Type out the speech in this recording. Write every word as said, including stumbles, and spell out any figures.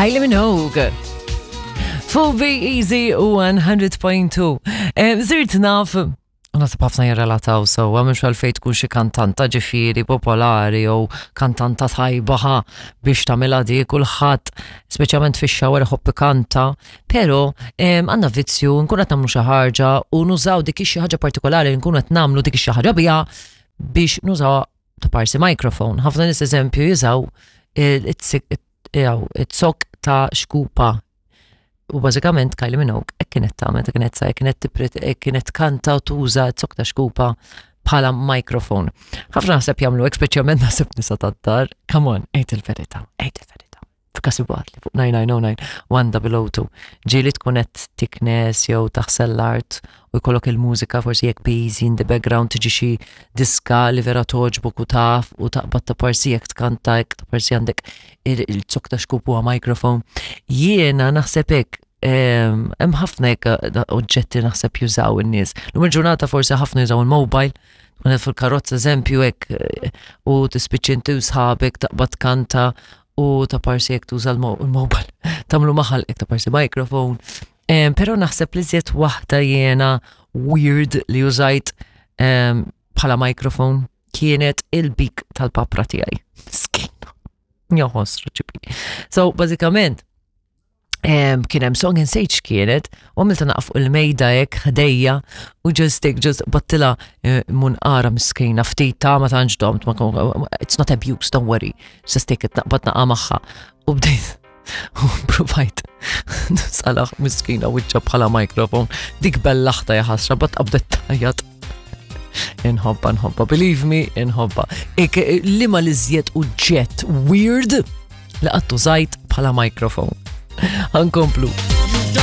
Kylie Minogue. Full Be Easy one hundred point two. Eh, Sirt naf, u naħseb ħafna jirrelataw sew, mhux għalfejn tkun xi kantanta ġifieri popolari jew kantanta tajba ħa biex tagħmilha di. Kulħadd, speċjalment fix-shower, iħobb kanta, però għandna vizzju nkun qed nagħmlu xi ħaġa u nużaw dik xi ħaġa partikolari li nkunu qed nagħmlu dik xi ħaġa biha biex nużaw ta' parsi microphone. Ħafna nies, eżempju, jużaw it-zokk ta' xkupa. U bażikament Kylie Minogue hekk kienet tagħmel, kienet sa kienet kienet kanta u tuża zokk ta' xkupa bħala microphone. Ħafna naħseb jagħmlu hekk, speċjalment naħseb nisa tad-dar. Come on, għid il-verità, għid il-verità. F'każ li fuq nine nine zero nine one zero zero two. Ġieli tkun qed tiknes jew taħsel l-art u jkollok il-mużika forsi jekk busy in the background, tiġi xi diska li vera toġbok u taf u taqbad ta' parsi jekk tkanta jekk ta' parsi għandek il-zokk ta' xkupa huwa microphone. Jiena naħseb hekk, hemm ħafna hekk oġġetti naħseb jużaw in-nies. Lum il-ġurnata forsi ħafna jużaw il-mobile, tkun fil-karozza, eżempju, hekk u tispiċċi inti u sħabek taqbad kanta u ta' parsi jekk tuża l-mobile. Tagħmlu maħal hekk ta' parsi microphone. Però naħseb li żjed waħda jiena weird li użajt bħala microphone kienet il-bik tal-papra tiegħi. Skina. Joħosru ċipi. So, bażikament, kien hemm song insejt kienet u għamilta naqaf fuq il-mejda hekk ħdejja u just hekk just battila eh, munqara miskina ftit ta' ma tantx domt, it's not abuse, don't worry, just take it, naqbad naqa' magħha u bdejt u provajt salaħ miskina wiċċa bħala microphone. Dik bellaħta, jaħasra, bat qabdet tajjat. Inħobba, nħobba, believe me, inħobba. Ik, li ma l-iżjed oġġett weird li qatt użajt bħala microphone? Ħa nkomplu.